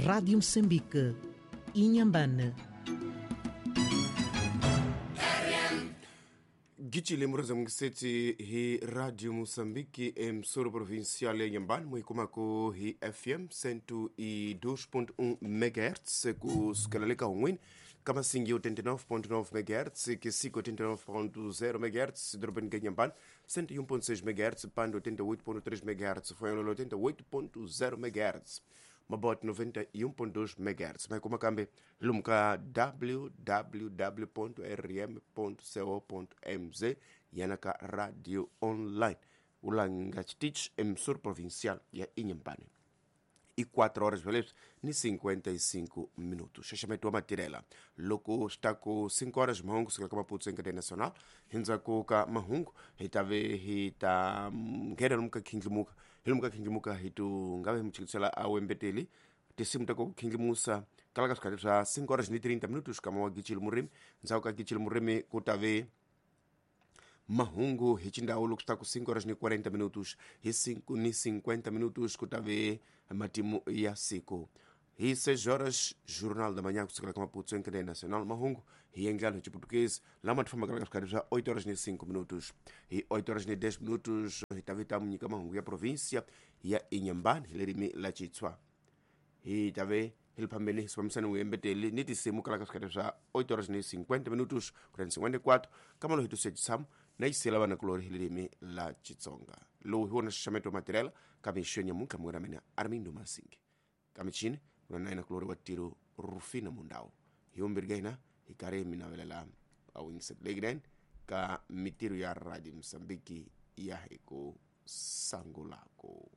Rádio Moçambique, Inhambane. Gicile murazamukiseti hi Radio Moçambique emsoro provincial ya Inhambane, muikumako hi FM 102.1 MHz kusukela le ka hun'wini ka masingi 89.9 MHz kisiko 89.0 MHz dorobeni ka Inhambane 101.6 MHz Pando 88.3 MHz Fonholola 88.0 MHz Mabot 91.2 MHz. Maikuma kambe lomu ka www.rm.co.mz yana ka radio online ulanga chitich emissora provincial ya Inhambane. E 4 horas beleza ni 55 minutos. Xaxamento wa matirela loko swi ta ku 5 horas mahungu sukela ka Maputo encadeia nacional hindzhaku ka mahungu hi ta ve hi ta nghena lomu ka khindlimuka hi lomu ka khindlimuka hi tu nga ve hi muchikisela a wembeteli tinsimu ta ku khindlimusa kala ka swikhati swa 5 horas ni 30 minutos kama wa Gicile Murimi. Ndzhaku ka Gicile Murimi ku ta ve mahungu hi xindhawu loko swi ta ku 5 horas ni 40 minutos hi 5 ni 50 minutos ku ta ve matimu ya siku hi 6 horas Jornal da Manhã kusukela ka Maputo encadeia nacional mahungu hi endlalo hi Chiportuguês lama ti fambaka ka swikhati swa 8 horas ni 5 minutos hi 8 horas ni 10 minutos hi ta ve ta nyika mahungu ya província ya Inhambane hi ririmi la Xitswa hi ta ve hi le phambeni hi sifambisani vuyembeteli ni tinsimu kala ka swikhati swa 8 horas ni 50 minutos kutani 54 kamalo hi tusiya tshamo na yisela vanakulori hi ririmi la Xitsonga. Lowu hi wona xaxameto wa matirhela ka mixo ya nyamuntlha munghana mina Armindo Masingi ka michini kuna na yena kulori wa tiro Rufina Mundau. Hi vumbirhi ka hina hi karhi hi mi navelela a wingisetelekinen ka mitirho ya Radio Mozambique ya hi ku sangulako.